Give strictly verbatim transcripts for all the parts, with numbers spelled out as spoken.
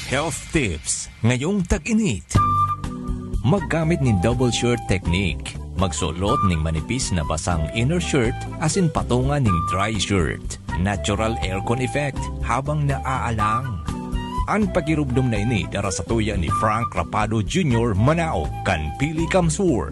Health tips ngayong tag-init. Maggamit nin double shirt technique. Magsulot ning manipis na basang inner shirt asin patunga ning dry shirt. Natural aircon effect habang naaalang. An pakirumdom na ini dara sa tuya ni Frank Rapado Junior, Manao, kan Pili Kamsur.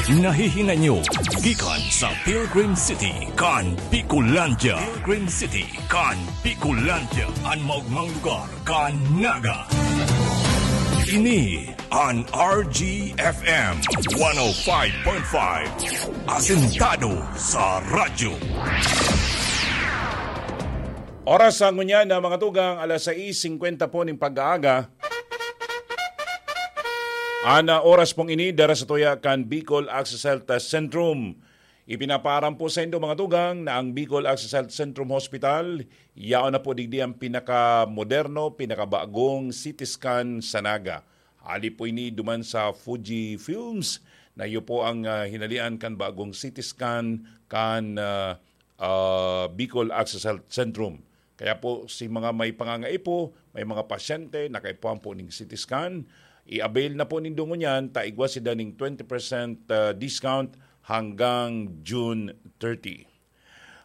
Nahihingan nyo gikan sa Pilgrim City kan Bicolandia. Pilgrim City kan Bicolandia, an maogmang lugar kan Naga. Ini an R G F M one oh five point five, asentado sa radyo. Oras sa ngunyan na mga tugang, alas sais singkwenta po ning pag-aaga. An, ah, oras pong ini, dara sa tuya kan Bicol Access Health Centrum. Ipinapaaram po sa indo, mga tugang, na ang Bicol Access Health Centrum Hospital, yaon na po digdi ang pinakamoderno, pinakabagong C T scan sa Naga. Hali po ini duman sa Fuji Films, na iyo po ang, ah, hinalian kan bagong C T scan kan, ah, ah, Bicol Access Health Centrum. Kaya po, si mga may pangangaipo, may mga pasyente, nakaipuhan po ning C T scan, i-avail na po nindo ngunyan, ta igwa sinda ning twenty percent, ah, discount hanggang June thirty.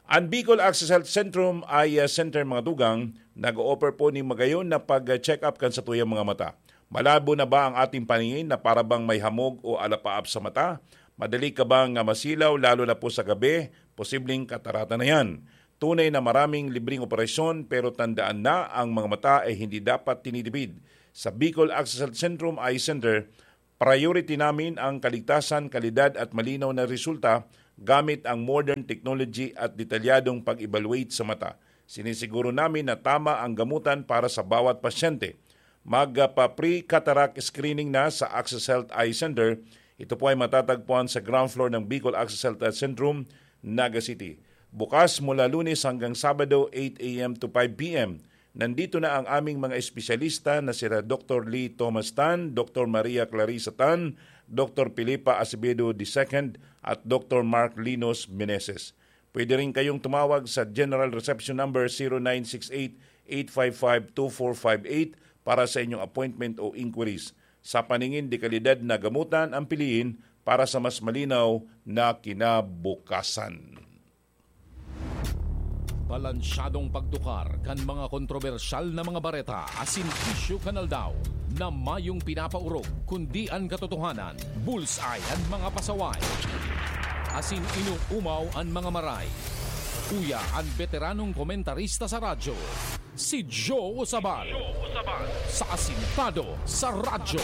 An Bicol Access Health Centrum Eye Center, mga tugang, nag-o-offer po ning magayon na pag-check-up kan satuyang mga mata. Malabo na ba ang ating paningin na para bang may hamog o alapaap sa mata? Madali ka bang, ah, masilaw, lalo na po sa gabi? Posibleng katarata na yan. Tunay na maraming libreng operasyon, pero tandaan na, ang mga mata ay hindi dapat tinitipid. Sa Bicol Access Health Centrum Eye Center, priority namin ang kaligtasan, kalidad at malinaw na resulta gamit ang modern technology at detalyadong pag-evaluate sa mata. Sinisiguro namin na tama ang gamutan para sa bawat pasyente. Magpa-pre-cataract screening na sa Access Health Eye Center. Ito po ay matatagpuan sa ground floor ng Bicol Access Health Centrum, Naga City. Bukas mula Lunes hanggang Sabado, eight a m to five p m. Nandito na ang aming mga espesyalista na sina Doktor Lee Thomas Tan, Doktor Maria Clarissa Tan, Doktor Filipa Acevedo the second, at Doktor Mark Linos Meneses. Pwede rin kayong tumawag sa General Reception Number zero nine six eight, eight five five, two four five eight para sa inyong appointment o inquiries. Sa paningin de kalidad na gamutan ang piliin para sa mas malinaw na kinabukasan. Balansyadong pagtukar kan mga kontrobersyal na mga bareta asin isyu kan aldaw, na mayong pinapaorog, kundi an katotohanan. Bullseye an mga pasaway, asin inuumaw an mga maray. Uya an beteranong komentarista sa radyo, si Joe Usabal, sa Asintado sa Radyo.